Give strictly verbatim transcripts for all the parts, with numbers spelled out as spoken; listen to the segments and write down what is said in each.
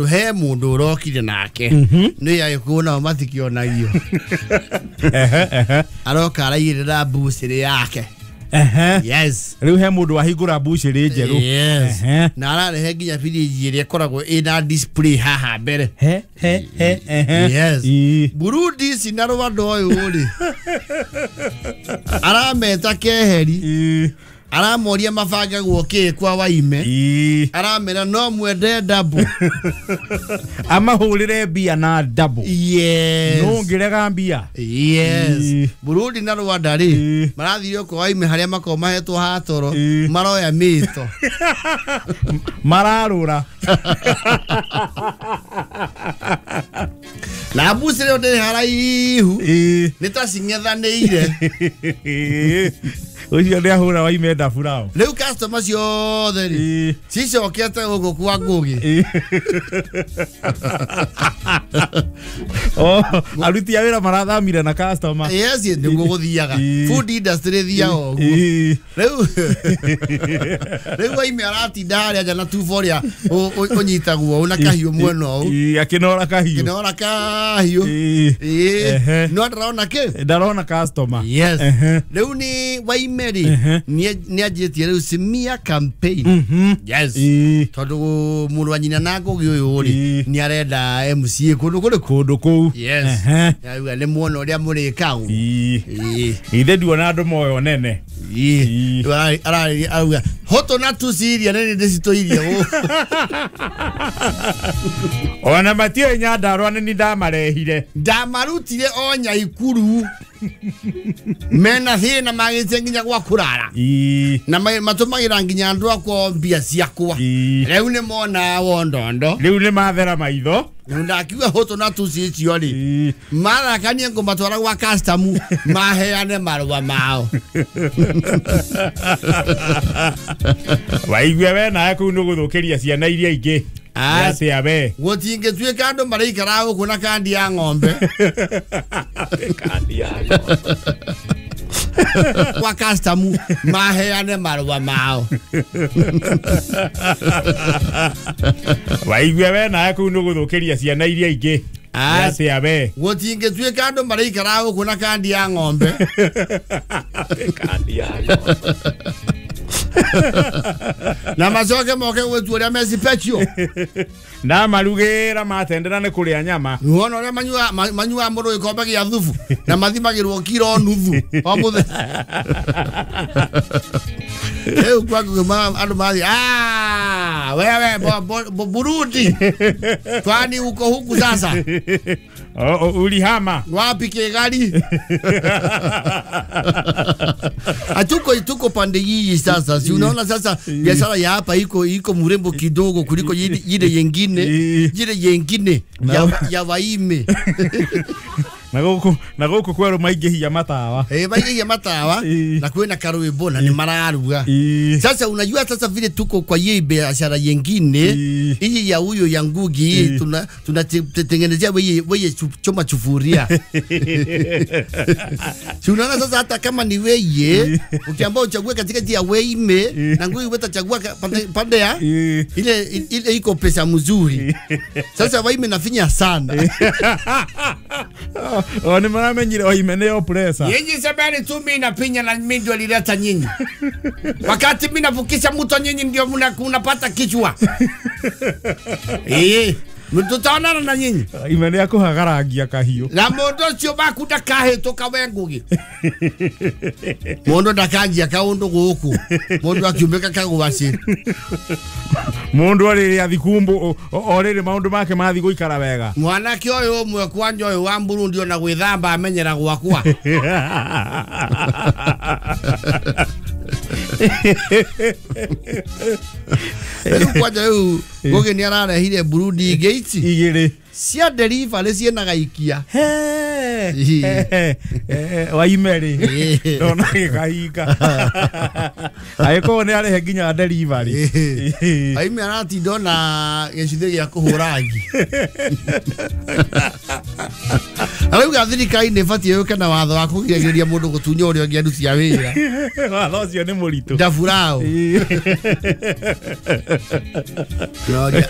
He mundu urokire nake ni agikuo nao matikionagio. Ehe ehe aroka araigirira mbucĩrĩ yake. Ehe yes riu he mundu wahingura mbucĩrĩ njeru. Yes na ararehe nginya biriji ĩrĩa ĩkoragwo ĩna display haha mbere. He he he ehe yes Burundi ici na Rwanda ũyũ rĩ arameta keheri aramoria mabangagwo kĩ kwa Waime aramera no mwende double amahũrĩre mbia na double. Yes no ngirega mbia. Yes Burundi na Rwanda rĩ marathire kwa Waime harĩa makoragwo mahetwo hatoro maroya mĩto mararũra na mbucĩrĩ ndĩrĩ haraihu nĩ ta cing'ethanĩire. Ucio nĩ ahũra Waime ndaburao rĩu customer ciothe rĩ cicokete gũkũ kwa Ngũgĩ. Oh aruti a wĩra marathamire na customer. Yes nĩguo gũthiaga food industry thiaga ũguo rĩu rĩu Waime aratinda harĩa nja na tubo ũrĩa ũnyitagwo na kahiũ mwena ũũ akĩnora kahiũ akĩnora kahiũ no ndarona kĩ ndarona customer. Yes rĩu nĩ Waime rĩ nĩ anjĩtie rĩu Simia campaign. Yes tondũ mũrũ wa nyina na Ngũgĩ ũyũ rĩ nĩ arenda M C A kũndũ kũrĩkũ kũndũ kũu. Yes yauga nĩ muona ũrĩa mũrĩka ũguo ithe nduona andũ moyo nene arauga hoto na tuciria nĩ ndĩcitũirie gũkũ ona matiũĩ Nyandarũa nĩ ndamarehire ndamarutire o Nyaikuru mena thĩna magĩte nginya gwa kũrara na matũmagĩra nginya andũ akwa mbia ciakwa rĩu nĩ mona wondondo rĩu nĩ mathera maitho rĩu ndakiuga hoto na tuci icio rĩ marakanie ngũmatwara gwa custom maheane marũa mao. Waigue we nawe kũu nĩ gũthũkĩria ciana iria ingĩ. Atia we gũtingĩtuĩka andũ maraikara gũkũ na kandi ya ng'ombe kandi ya ng'ombe kwa custom maheane marũa mao. Waigue we nawe kũu nĩ gũthũkĩria ciana iria ingĩ. Atia we gũtingĩtuĩka andũ maraikara gũkũ na kandi ya ng'ombe kandi ya ng'ombe na macoke moke gwĩtua ũrĩa mecipetio na marugĩra matendera nĩ kũrĩa nyama wona ũrĩa manyuaga manyuaga mũndũ gĩkombe gĩa thubu na mathimagĩrwo kiro nuthu o mũthenya. Rĩu kwa Ngũgĩ andũ mathiĩ ah wewe Burundi twani uko huku sasa ulihama wapi Kigali atuko tuko pande hii sasa si unaona sasa biashara ya hapa iko iko murembo kidogo kuliko ile yengine ile yengine ya, ya Waime na guku na guku kweru maingĩhia matawa eh maingĩhia matawa na kwĩna karwĩmbo na nĩ mararuga. Sasa unajua sasa vile tuko kwa hii biashara yengine hii ya huyo ya Ngugi hii tuna tunatengenezea wewe wewe choma chufuria. Si unaona sasa hata kama ni wewe ukiambao uchague katikati ya Waime na Ngugi utachagua pande, pande ya ile ile iko pesa mzuri. Sasa Waime nafinya sana. O nĩ maramenyire Waime nĩyo pressure. Nyinyi semeni tu mimi napinya na mimi ndio nilileta nyinyi. Wakati mimi navukisha mtu nyinyi ndio mnapata kichwa. Eh, mtutaonana na nyinyi. Waime nĩ akũhagarangia kahiũ. Na mũndũ ũcio waku ndakahĩtũka we Ngũgĩ. Mũndũ ndakanjia kaũndũ gũkũ. Mũndũ akiumĩka kagwaci. Mũndũ arĩrĩ athikumbu o rĩrĩ maũndũ make mathi gũikara wega. Mwanake ũyũ ũmwe kwanja ũyũ wa Burundi ona gwĩthamba amenyera gwakwa. Rĩu kwanja rĩu Ngũgĩ nĩ ararehire Burundi ingĩ ici igĩrĩ cia delivery ciĩna gaikia. Waime rĩ ndona gĩkahinga agĩkorwo nĩ arehe nginya delivery. Waime aratinda ona gĩcuthĩ gĩa kũhũra ngi. Arauga thirikari nĩ ĩbatiĩ yũke na watho wa kũgirĩrĩria mũndũ gũtunya ũrĩa ũngĩ aruti a wĩra. Watho ũcio nĩ mũritũ. Ndafurao.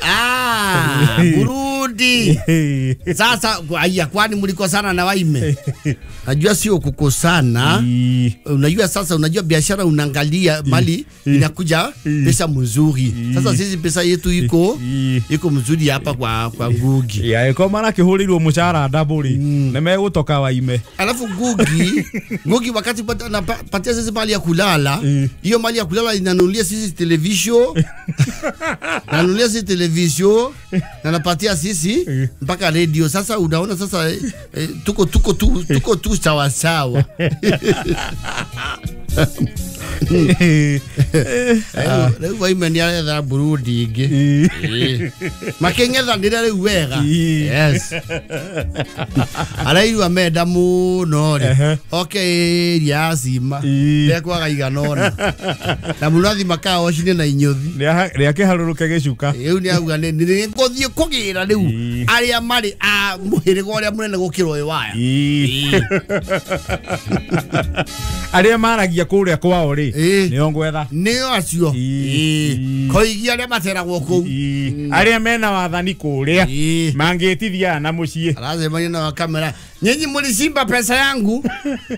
Ah, Burundi. Sasa aya, kwani mlikosana na Waime? Najua sio kukosana. Unajua sasa, unajua biashara unaangalia mali inakuja pesa mzuri. Sasa sisi pesa yetu iko iko mzuri hapa kwa kwa Ngugi. Ya iko mara kihurirwo mshahara double na megutoka Waime. Alafu Ngugi, Ngugi wakati patia sisi mali ya kulala, hiyo mali ya kulala inanunulia sisi television. Nanunulia sisi television na napatia sisi mpaka radio. Sasa unaona sasa eh, tuko tuko tu tuko tu sawa sawa. Rĩu Waime nĩ aretha Burundi ingĩ. Makĩng'ethanĩra rĩu wega. Yes. Arairua menda mũno rĩ. Oke area ya cima. Ndekwaga igana ũna. Na mũno makaocine na inyũthi. Rĩakĩharũrũke gĩcuka. Rĩu nĩ auga nĩ ngũthiĩ kũgĩra rĩu arĩa marĩ a mũhĩrĩga ũrĩa mũnene gũkĩra ũyũ waya. Arĩa maragia kũrĩa kwao rĩ nĩo ngwetha. Nĩo acio. Koigia arĩa materagwo kũu. Arĩa mena wathani kũrĩa mangĩtithia na mũciĩ. Aracemania na kamera. Nyinyi mlisimba pesa yangu.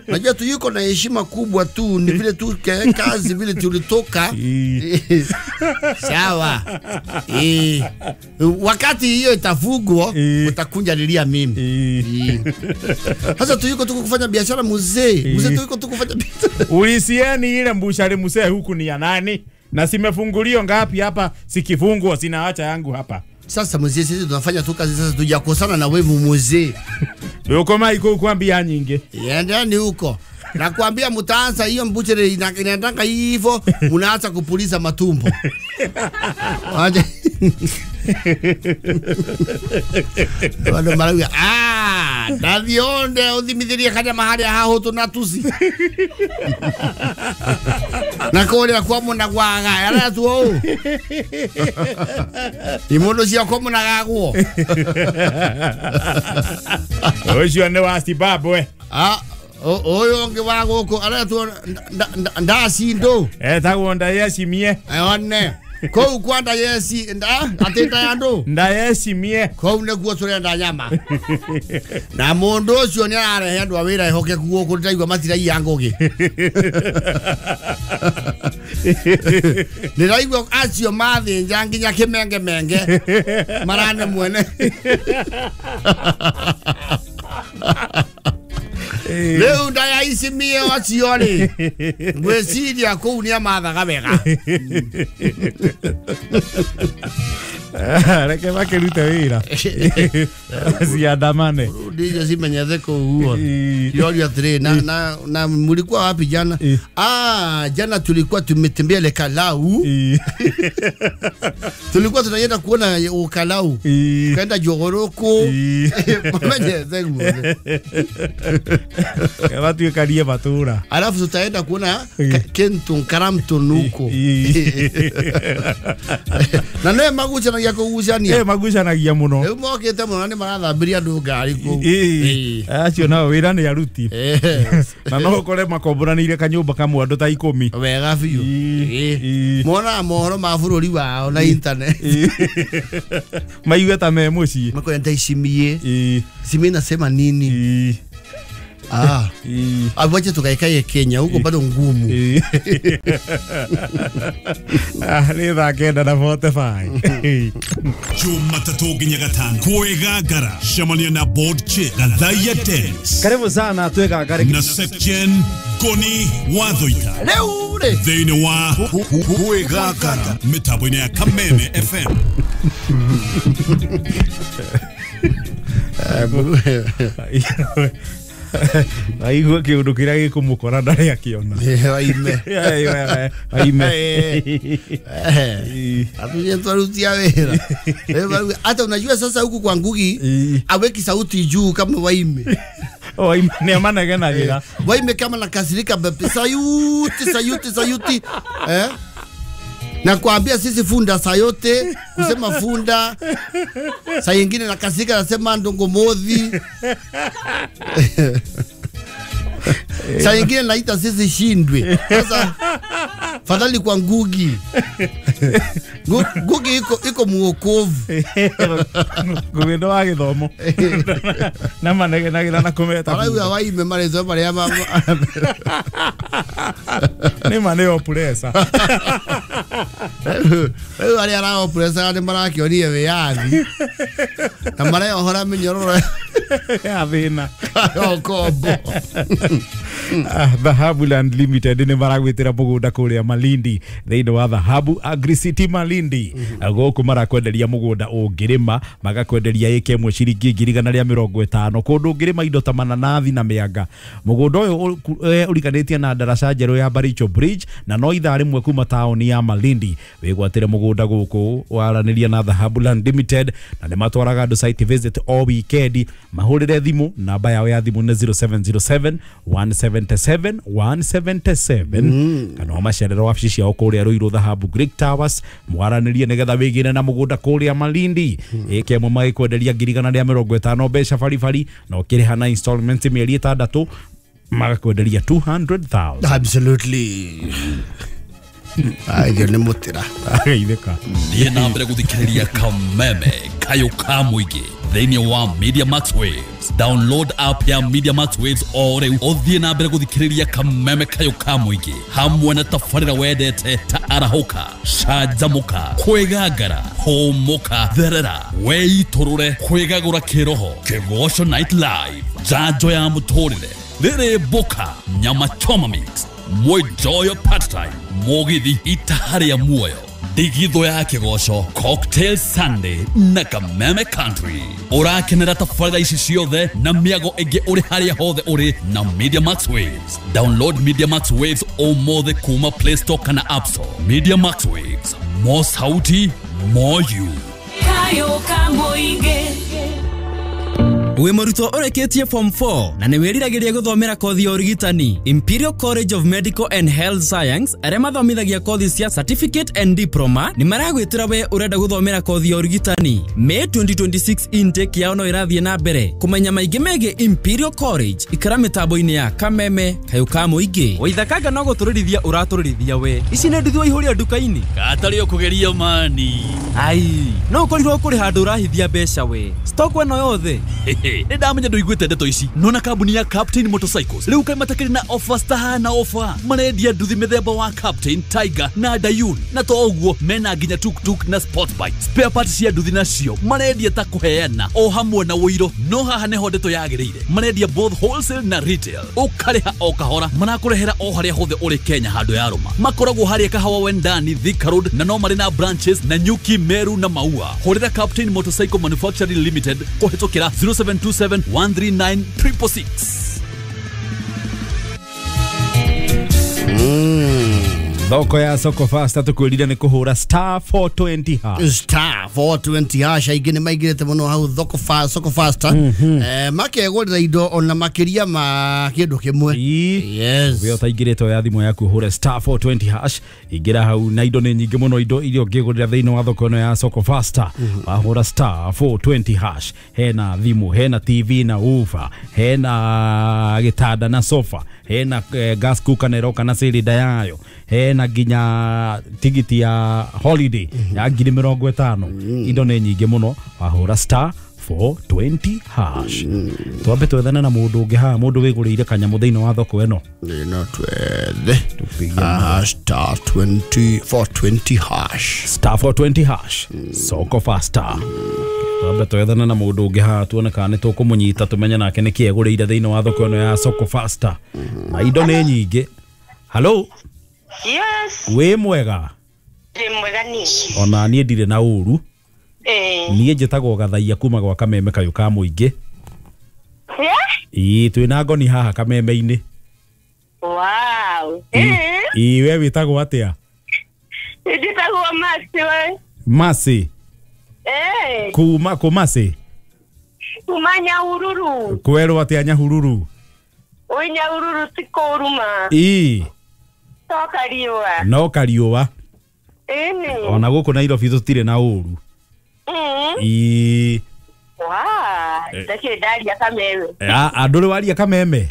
Najua tu yuko na heshima kubwa tu, ni vile tu kazi vile tulitoka. Sawa. Eh. Wakati hiyo itafugwa utakunja lilia mimi. Sasa tu yuko tu kufanya biashara mzee. Mzee tu yuko tu kufanya biashara. Ulisieni ile mbushari mzee huku ni ya nani? Na simefunguliwa ngapi hapa, sikifungwa sinaacha yangu hapa. Sasa mzee sisi tunafanya tu kazi sasa tujakosana na wewe mzee. Uko maiko kuambia nyingi. Endeni huko. Nakwambia mtaanza hiyo mbuchere inaendanga hivyo, mnaanza kupuliza matumbo. Aje. Wale marawi ah, ndathionde uthimithirie kanya maharia hahutu na tusi. Na kuria kwa muna gwaga ara tu ou. Imondo cia kwa muna gagwo. Ucio ni wa Zimbabwe. Ah, oyo ngi wa guku ara tu ndacindo. Etagwo ndayecimie. One. Kou kwa ndayeci nda ateta ya ndu. Ndayecimie. Kou niguo turenda nyama. Na mundu ucio ni ararehe andu a wira ehokeku guku ndiraigua matiraiya ngugi. Ndiraigua acio mathinja nginya kimenge menge marane mwene. Rĩu ndayacimie acio rĩ ngwĩciria kũu nĩ amathaga wega. Reke makĩrute wĩra ciandamane. Ndijo cimenyete kũu Yoria atĩrĩ na na na mlikuwa wapi jana? Ah, jana tulikuwa tumetembea Lekalau. Tulikuwa tunaenda kuona Ukalau. Kaenda Jogoroko. Mamenyete guothe. Watuĩkarie matũra. Alafu tutaenda kuona Kenton Karamton huko. Na nĩ magucanagia kũgucania. Eh, magucanagia mũno. Rĩu mokĩte mũno nĩ marathambiria andũ ngari kũu. Acio nao wĩra nĩ aruti. Na no ũkore makomboranĩire kanyũmba kamwe andũ ta ikũmi. Wega biũ. Monaga mohoro ma bũrũri wao na internet. Maigue ta me mũciĩ. Makoya ndaicimie. Simie nasema nini? Ah. Wacha tukaikae Kenya huko bado ngumu. Ah, ni thaa kenda na forty-five. Jumatatu nginya gatano kwĩgangara cemania na board chair Gathaia Dennis. Karibu sana twĩgangare na section Koni Wathoita. Rĩu rĩ thĩinĩ wa kwĩgangara mĩtambo-inĩ ya Kameme F M. Aigua kĩũndũ kĩrĩa gĩkũmũkora ndarĩ akĩona. Waime. Waime. Atuje twarutia wĩra. Hata unajua sasa huku kwa Ngugi aweki sauti juu kama Waime. Waime ni amanegenagĩra. Waime kama nakasirika sayuti sayuti sayuti. Eh? Na kuambia sisi funda saa yote kusema funda saa nyingine nakasika nasema ndongo modhi. Saa nyingine naita sisi shindwe. Sasa fadhali kwa Ngugi. Ngugi iko iko muokovu. Ngugi ndo wa githomo. Na manegenagira na kumeta. Arauga waime marezo maria ma. Ni mane opuresa. Rĩu arĩa araopuresa nĩ marakĩonie wĩyathi. Na mareohora mĩnyororo ya thĩna. Okombo. Dhahabu Land Limited nĩ maragwĩtĩra mũgũnda kũrĩa Malindi thĩinĩ wa Dhahabu Agri City Malindi. Gũkũ marakwenderia mũgũnda ũngĩrĩma magakwenderia ĩka ĩmwe ciringi ngiri igana rĩa mĩrongo ĩtano kũndũ ũngĩrĩma indo ta mananathi na mĩanga. Mũgũnda ũyũ ũriganĩtie na ndaraca njerũ ya Baricho Bridge na no ithaa rĩmwe kuma taũni ya Malindi. Wĩgwatĩre mũgũnda gũkũ waranĩria na Dhahabu Land Limited na nĩ matwaraga andũ site visit o weekend. Mahũrĩre thimũ namba yao ya thimũ nĩ zero seven zero seven one seven seven one seven seven kana macerero wabici ciao kũrĩa Ruiru Dhahabu Greek Towers mwaranĩrie nĩgetha wĩgĩre na mũgũnda kũrĩa Malindi. Ĩka ĩmwe magĩkwenderia ngiri igana rĩa mĩrongo ĩtano mbeca baribari na ũkĩrĩha na installment mĩeri ĩtandatũ magakwenderia two hundred thousand. Absolutely. Ayo nĩ mũtĩra agaithĩka. Thiĩ na mbere gũthikĩrĩria Kameme Kayũ ka Mũingĩ thĩinĩ wa Media Max Waves. Download app ya Media Max Waves o rĩu ũthiĩ na mbere gũthikĩrĩria Kameme Kayũ ka Mũingĩ hamwe na tabarĩra wendete ta arahũka, canjamũka, kwĩgangara, hũmũka, therera, weitũrũre, kwĩgagũra kĩroho, Kĩgoco Night Live, njanjo ya mũtũrĩre, rĩrĩ mboka, nyama choma mix, Mwijoyo part time, mũgithi itaharĩa muoyo, ndigithũ ya kĩgoco, Cocktail Sunday na Kameme Country. Ũrakenera tabarĩra ici ciothe na mĩago ĩngĩ ũrĩ harĩa hothe ũrĩ na Media Max Waves. Download Media Max Waves ũmũthĩ kuma Play Store kana App Store. Media Max Waves, more sauti, more you. Kayo ka Mũingĩ. Wĩ mũrutwo ũrĩkĩtie form four na nĩ wĩriragĩria gũthomera kothi ya ũrigitani Imperial College of Medical and Health Science arĩa mathomithagia kothi cia certificate and diploma nĩ maragwĩtĩra we ũrenda gũthomera kothi ya ũrigitani. May twenty twenty-six intake yao no ĩrathiĩ na mbere. Kũmenya maingĩ megiĩ Imperial College ikara mĩtambo-inĩ ya Kameme Kayũ ka Mũingĩ. Waithakanga no gũtũrĩrithia ũratũrĩrithia we. Ici nĩ nduthi waihũria nduka-inĩ. Gatarĩ ũkũgeria mani. Ai, no ũkorirwo kũrĩ handũ ũrahithia mbeca we. Stock ĩno yothe. Nĩ ndamenya ndũiguĩte ndeto ici nona kambuni ya Captain Motorcycles rĩu kaĩ matakĩrĩ na offers tahana offer marendia nduthi mĩthemba wa Captain, Tiger na Dayun na to ũguo mena nginya tuktuk na sport bike spare parts cia nduthi nacio marendia ta kũheana o hamwe na ũiro no haha nĩho ndeto yagĩrĩire marendia both wholesale na retail ũkarĩha o kahora marakũrehera o harĩa hothe ũrĩ Kenya handũ ya rũma makoragwo harĩa Kahawa Wendani Thika Road na no marĩ na branches na Nyuki, Meru na Maua. Hũrĩra Captain Motorcycle Manufacturing Limited kũhĩtũkĩra zero seven two seven one three nine triple six. Thoko ya Soko Fasta tukwirire ni kuhura star four twenty hash. Star four twenty hash aingĩ nĩ maingĩrĩte mũno hau thoko fa Soko Fasta. Eh makegũrĩra indo ona makĩria ma kĩndũ kĩmwe. Yes. We ũtaingĩrĩte ya thimũ yaku hũre star four twenty hash ingĩra hau na indo nĩ nyingĩ mũno indo iria ũngĩgũrĩra thĩinĩ wa thoko ĩno ya Soko Fasta. Wahũra star four twenty hash hena thimũ, hena T V na woofer, hena gĩtanda na sofa, hena eh, gas cooker na ĩroka na cylinder yayo, hena nginya tigiti ya holiday ya ngiri mĩrongo ĩtano. Indo nĩ nyingĩ mũno wahũra star four twenty hash. Twambe twethane na mũndũ ũngĩ haha mũndũ wĩgũrĩire kanyamũ thĩinĩ wa thoko ĩno. No twethe star twenty four twenty hash. Star four twenty hash Soko Fasta. Twambe twethane na mũndũ ũngĩ haha tuone kana nĩ tũkũmũnyita tũmenye nake nĩkĩ egũrĩire thĩinĩ wa thoko ĩno ya Soko Fasta. Na indo nĩ nyingĩ. Hello. Yes. Wĩ mwega? Ndĩ mwega niĩ. Ona niĩ ndirĩ na ũru. Eh. Niĩ njĩtagwo Gathaia kuma gwa Kameme Kayũ ka Mũingĩ. Yeah? Ĩĩ twĩna ngoni haha Kameme-inĩ. Wow. Eh. Ĩĩ we wĩtagwo atĩa? Njĩtagwo Masi we. Masi. Eh. Kuma kũ Masi? Kuma Nyahururu. Kwerwo atĩa Nyahururu? Oi Nyahururu ti kũũru ma. Ĩĩ. No kariũa. No kariũa. Ĩni. Ona gũkũ Nairobi tũtirĩ na ũru. Mm. Ii. Wa, ndakĩ ndaria kameme. A andũ waria kameme.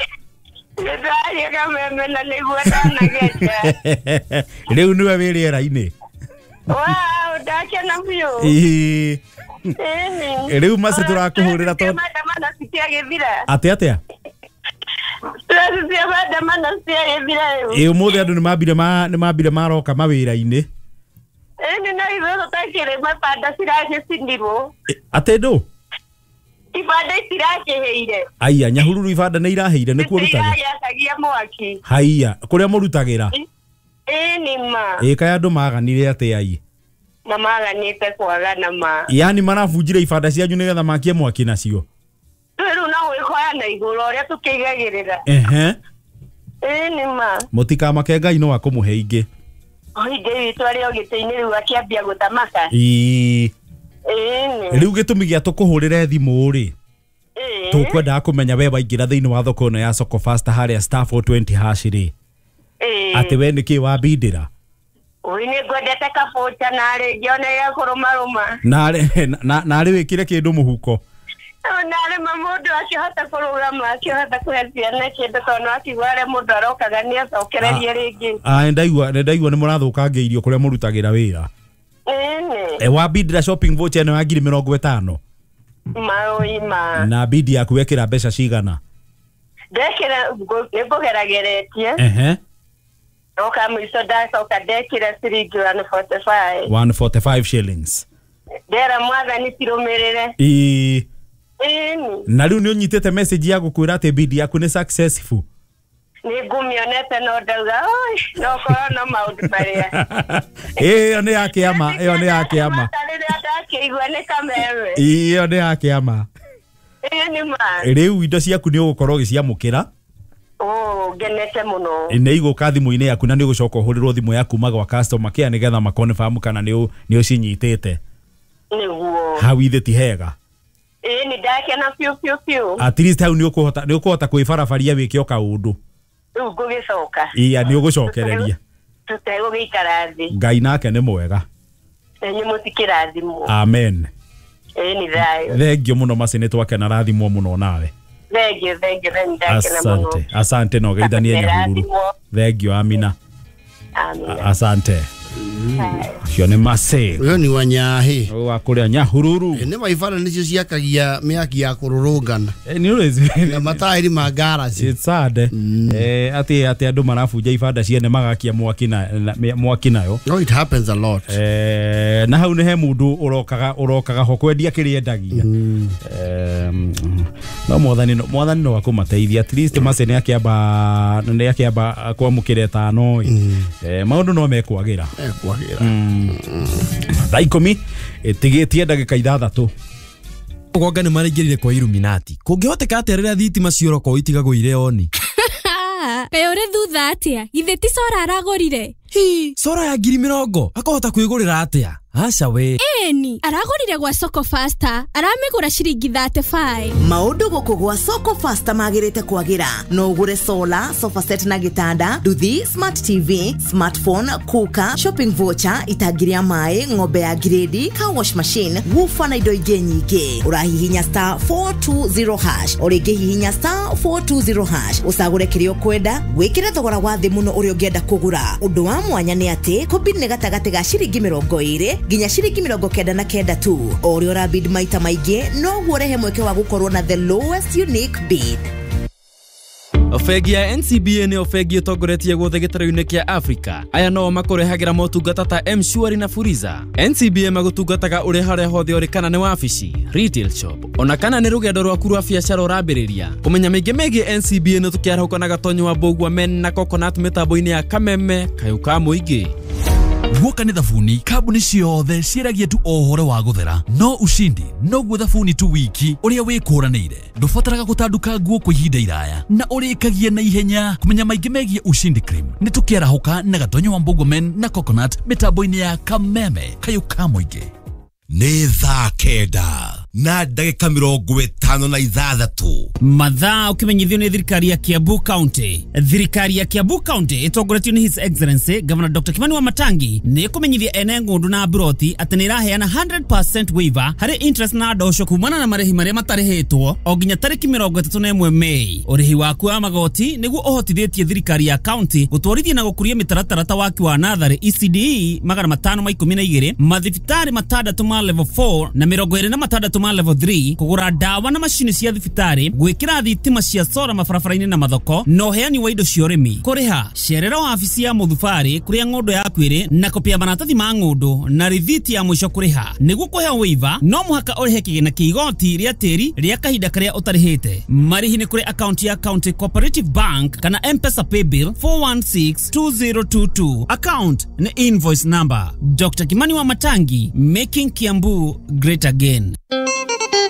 Ndaria kameme na nĩguo ndanageria. Rĩu nĩwe wĩ rĩera-inĩ. Wow, ndakena biũ. Ii. Ĩni. Rĩu Mercy tũrakũhũrĩra tondũ maandamano citiagĩthira. Atĩ atĩa? Tũracia maandamano citiagĩthira rĩu. Ĩ ũmũthĩ andũ nĩmambire ma nĩmambire maroka mawĩra-inĩ. Ĩni no ithuĩ tũtakĩrĩ mabanda ciragĩcinirwo. Atĩ ndũ? Ibanda itirakĩhĩire. Aya, Nyahururu ibanda nĩ irahĩire nĩkuo rutagĩra. Iragĩakagia mwaki. Haiya, kũrĩa mũrutagĩra? Ĩni ma. Ĩ kaĩ andũ maganire atĩa ai? Na maganĩte kwagana ma. Yaani marabunjire ibanda cianyu nĩgetha makie mwaki nacio. Rĩu no gwĩkoya na igũrũ ũrĩa tũkĩigagĩrĩra. Ehe. Ĩni ma. Mũtikamake Ngai no akũmũhe ingĩ. Ithe witũ arĩ o gĩtĩ-inĩ rĩu akĩambia gũthamaka. Ĩĩ. Ĩni. Rĩu gĩtũmi gĩa tũkũhũrĩre thimũ rĩ, tũkwendaga kũmenya we waingĩra thĩinĩ wa thoko ĩno ya Soko Fasta harĩa star four twenty hash rĩ, atĩ we nĩkĩ wambindĩra? Oi nĩ ngwendete kabũca narĩ ngĩona gĩakũrũmarũma. Narĩ narĩ wĩkĩre kĩndũ mũhuko. Narĩ ma mũndũ akĩhota kũrũgama akĩhota kũhe ciana kĩndũ tondũ no akigua harĩa mũndũ arokaga nĩ acokererie rĩngĩ. Ah, nĩndaigua nĩndaigua nĩ mũrathũkangĩirio kũrĩa mũrutagĩra wĩra. Ĩni. E wambindĩra shopping voucher ĩno ya ngiri mĩrongo ĩtano. Maũi ma. Na bidi yaku wekĩra mbeca cigana? Ndekĩra nĩ ngũgerageretie. Ehe. Oka mũico ndacoka ndekĩra ciringi one forty five. one forty five shillings. Ndera mwathani cirũmĩrĩre. Ĩĩ. Ĩni. Na rĩu nĩ ũnyitĩte message ya gũkwĩra atĩ bidi yaku nĩ successful. Nĩ ngũmĩonete no ndauga oi no korwo no maũndũ marĩa. Ĩyo nĩ ya kĩama, ĩyo nĩ ya kĩama. Rĩrĩa ndakĩigua nĩ kameme. Ĩyo nĩ ya kĩama. Ĩyo nĩ ma. Rĩu indo ciaku nĩ ũgũkorwo ũgĩciamũkĩra. Oh, ngenete mũno. Nĩ igũka thimũ-inĩ yaku na nĩ ũgũcoka ũhũrĩrwo thimũ ya kuma gwa customer care nĩgetha makonfirm kana nĩ ũcinyitĩte. Nĩguo. Hau ithe ti hega. Ĩĩ nĩ ndakena biũ biũ biũ. At least hau nĩ ũkũhota nĩ ũkũhota kwĩbarabaria wĩke o kaũndũ. Rĩu ngũgĩcoka. Iya nĩ ũgũcokereria. Tũtegũgĩikara thĩ. Ngai nake nĩ mwega. Nĩ mũtikĩrathimwo. Amen. Ĩĩ nĩ thayũ. Thengio mũno Mercy nĩ twakena rathimwo mũno nawe. Thengio thengio nĩ ndakena mũno. Asante asante no geithanie Nyahururu. Thengio Amina. Amina. Asante. Cio nĩ Mercy. Ũyũ nĩ wa Nyahi. Wa kũrĩa Nyahururu. Nĩ maibara nĩcio ciakagia mĩaki ya kũrũrũngana. Nĩ ũrĩ na mataĩri ma ngaraci. It's sad. Eh atĩ atĩ andũ marabunja ibanda ciene magakia mwaki na mwaki nayo. No it happens a lot. Eh na hau nĩ he mũndũ ũrokaga ũrokaga ho kwendia kĩrĩa endagia. Eh no mwathani no mwathani no akũmateithia at least Mercy nĩ akĩamba nĩ akĩamba kwamũkĩra ĩtano. Eh maũndũ no mekwagĩra. Ekwagĩra. Thaa ikũmi ĩtigĩtie ndagĩka ithathatũ. Ũgonga nĩ maraingĩrire kwa Illuminati. Kũngĩhoteka atĩa rĩrĩa thitima cioroko itigagwo irĩ oni? Kaĩ ũrĩ thutha atĩa? Githĩ ti Sora aragũrire? Hi, Sora ya ngiri mĩrongo akahota kwĩgũrĩra atĩa? Aca we. Ĩni, aragũrire gwa Soko Fasta, aramĩgũra ciringi thirty five. Maũndũ gũkũ gwa Soko Fasta magĩrĩte kwagĩra. No ũgũre solar, sofa set na gĩtanda, nduthi, smart T V, smartphone, cooker, shopping voucher, itangi rĩa maĩ, ng'ombe ya grade, car wash machine, woofer na indo ingĩ nyingĩ. Ũrahihinya star four two zero hash, o rĩngĩ hihinya star four two zero hash, ũcagũre kĩrĩa ũkwenda, wĩkĩre thogora wa thĩ mũno ũrĩa ũngĩenda kũgũra. Ũndũ wa mwanya nĩ atĩ kũbid nĩ gatagatĩ ga ciringi mĩrongo ĩrĩ nginya ciringi mĩrongo kenda na kenda tu. O ũrĩa ũrabid maita maingĩ noguo ũrehe mweke wa gũkorwo na the lowest unique bid. Bengi ya N C B A nĩyo bengi ĩtongoretie guothe gĩtarũ-inĩ kĩa Africa. Aya no makũrehagĩra motungata ta M-Shwari na Fuliza. N C B A magũtungataga ũrĩ harĩa hothe ũrĩ, kana nĩ wabici, retail shop, ona kana nĩ rũgendo rwaku rwa biacara ũrambĩrĩria. Kũmenya maingĩ megiĩ N C B A nĩ tũkĩarahũka na Gatonyo wa Mbũgua Men na Coconut mĩtambo-inĩ ya Kameme Kayũ ka Mũingĩ. Guoka nĩ thabuni kambuni ciothe ciĩragia tu o ũhoro wa gũthera, no ushindi noguo thabuni tu wiki ũrĩa wĩkũranĩire. Ndũbataraga gũtanduka nguo kwa ihinda iraya na ũrĩkagia na ihenya. Kũmenya maingĩ megiĩ Ushindi Cream nĩ tũkĩarahũka na Gatonyo wa Mbũgua Men na Coconut mĩtambo-inĩ ya Kameme Kayũ ka Mũingĩ. Nĩ thaa kenda. Na ndagĩka mĩrongo ĩtano na ithathatũ. Mathaa ũkĩmenyithio nĩ thirikari ya Kiambu County. Thirikari ya Kiambu County ĩtongoretio nĩ His Excellency Governor Doctor Kimani Wamatangi nĩ ĩkũmenyithia ene ng'ũndũ na mburoti atĩ nĩ ĩraheana hundred percent waiver harĩ interest na ndosho kumana na marĩhi marĩa matarĩhĩtwo o nginya tarĩki mĩrongo ĩtatũ na ĩmwe Mei. Ũrĩhi waku wa magoti nĩguo ũhotithĩtie thirikari ya county gũtwarithia na gũkũria mĩtaratara ta waki wa natharĩ E C D E magana matano ma ikũmi na igĩrĩ, mathibitarĩ matandatũ ma level four na mĩrongo ĩrĩ na matandatũ ma level three, kũgũra ndawa na macini cia thibitarĩ, gwĩkĩra thitima cia sora mabarabara-inĩ na mathoko, na ũheani wa indo cia ũrĩmi. Kũrĩha cerera wabici ya mũthubarĩ kũrĩa ng'ũndũ yaku ĩrĩ na kopi ya maratathi ma ng'ũndũ na rithiti ya mũico kũrĩha. Nĩguo kũheo waiver no mũhaka ũrĩhe kĩgĩna kĩa igoti rĩa tĩri rĩa kahinda karĩa ũtarĩhĩte. Marĩhi nĩ kũrĩ akaunti ya County Cooperative Bank kana M-Pesa Paybill four one six two zero two two. Account nĩ invoice number. Doctor Kimani Wamatangi, making Kiambu great again.